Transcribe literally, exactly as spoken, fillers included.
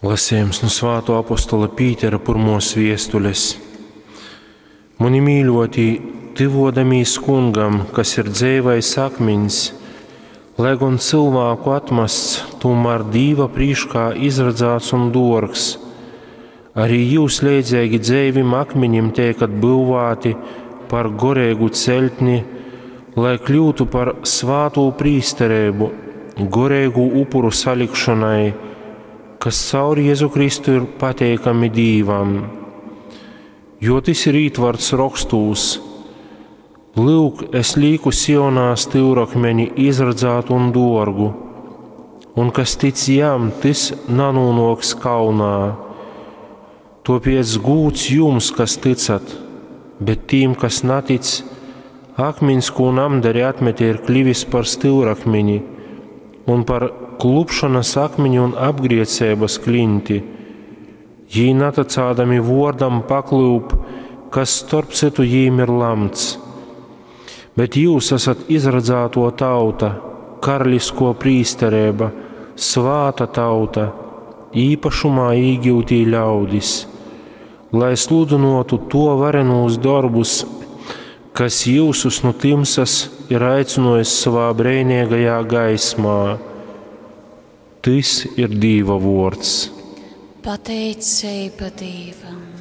Lasījums nu Svāto apostola Pītera pirmos viestules. Muni mīļotī, tyvodamīs kungam, kas ir dzeivais akmiņs, lai gon cilvēku atmasts, tomēr Dīva prīškā izradzāts un dorgs, arī jūs leidzīgi dzeivim akmeņim teikat būvāti par gorēgu celtni, lai kļūtu par svāto prīsterību, gorēgu upuru salikšanai, kas caur Jēzu Kristu ir pateikami Dīvam. Jo tas ir ītvarts rokstūs. Lūk, es lieku Sionā styurakmeni izradzātu un dorgu, un kas tic jam, tas nanūnoks kaunā. Tāpēc gūds jums, kas ticat, bet tīm, kas natic, akmens, ko namdari atmetē, ir kļuvis par styurakmeni un par klupšanas akmeņu un apgriecības klinti. Jī naticādami vōrdam paklūp, kas starp citu jīm ir lamts. Bet jūs esat izradzāto tauta, karalisko prīsterība, svāta tauta, īpašumā īgyutī ļaudis, lai sludinotu to varenūs darbus, kas jūsus no timsas ir aicinājis savā brēnīgajā gaismā. Tys ir Dīva vōrds. Pateicība Dīvam.